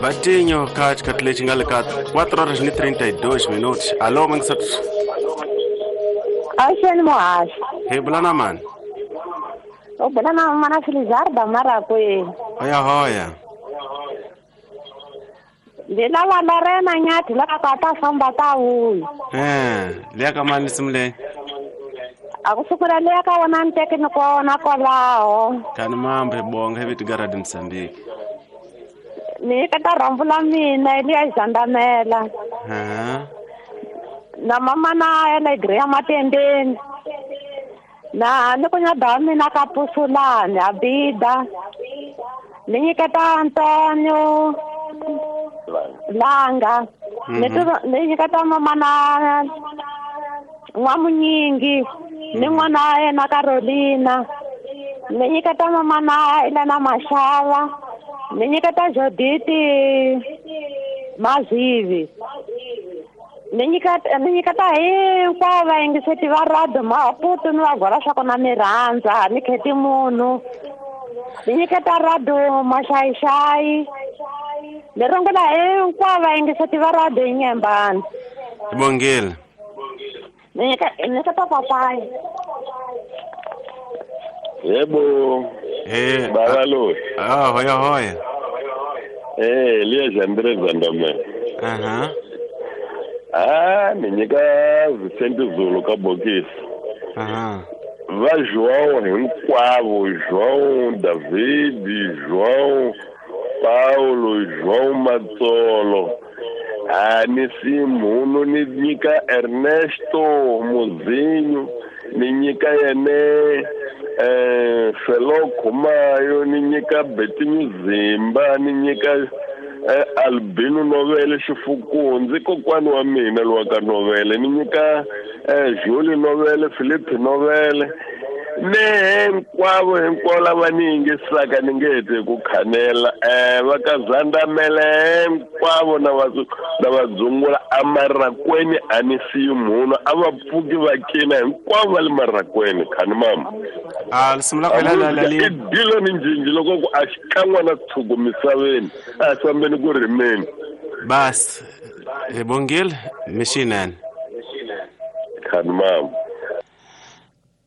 Batinho ka xikhathi lexi nga le ka 4 horas ni 32 minutos. Alô, mangisati. Axeni muhaxi. Hi bula na mani? U bula na mana Felizarda Marakweni. Hoya hoya. Ndzi lava Lorena Nyathi la ka ta famba ta vuya. Liya ka mani nsimu leyi? A ku sukela liya ka wona nteke ni kona kwalaho. Kani mambo hi bonga hi vito ka Radio Mozambique. Ni nyiketa rhambu la mina liya Zandamela. Na mama na yena Greya Matendeni. Na ni ku nyada wa mina ka Pusulani Abida. Ni nyiketa Antonio Langa. Ni nyiketa mama na N'wamunyingi ni n'wana yena Carolina. Ni nyiketa mama na Elena Mashava. Ni nyiketa Joditi Mazivi. Ni nyiketa hinkwavo vayingiseti va radio Maputo ni va gwala swa kona ni rhandza ni kheti munhu. Ni nyiketa radio Maxayixayi. Ni rungula hinkwavo vayingiseti va radio Inyembani. Bongile. Ni nyiketa papayi. Yebo. Baba lo. Hoya hoya. Liya Jandre Zandame. Ni nyika Vicente Zulu ka bokisi. Va João hinkwavo, João David, João Paulo, João Matsolo. Ni Simuno, ni nyika Ernesto Muzinho, ni nyika yene Felo Khumayo, ni nyika Betinho Zimba, ni nyika Albino Novele Xifukundzi, kokwani wa mina lowa ka Novele, ni nyika Julie Novele, Philip Novele, ne hinkwavo hinkwavo lava ni yingisaka ni nge heti ku khanela va ka Zandamele hinkwavo na va dzungula amarakweni a ni siyi munhu a va pfuki va cina hinkwavo va le marakweni khani mama. I dilo ni njinji loko ku a xikan'we na tshuku misaveni a fambeni ku rimeni. Bas hi bongile mixinene khani mama.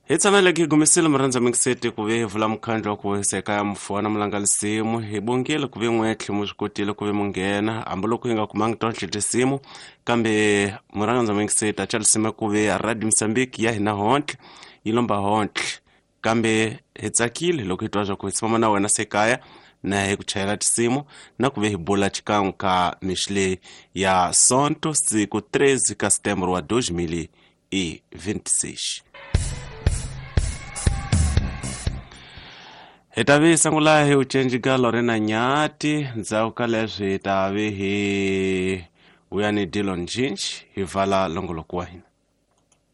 Hi tshamele hi gumisile murhandza mingiseti ku ve hi vula mukhandlu wa ku hisa eka mufana mulangalisimu hi bongile ku ve n'wetlhe mu swi kotile ku ve mu nghena hambiloko hi nga kumangi tonhle tinsimu kambe murhandza mingiseti a chalisime ku ve Radio Mozambique ya hina hontle yi lomba hontle kambe hi tsakile loko hi twa swa ku hi tshama na wena sekaya na hi ku chayela tinsimu na ku ve hi bula xikan'we ka mixi leyi ya Sonto siku 13 ka Setembro wa 2026. Hi ta vi sungula hi ucenji ka Lorena Nyati ndzhaku ka leswi hi ta vi hi vuya ni Dillon Jinch hi vala longoloko wa hina.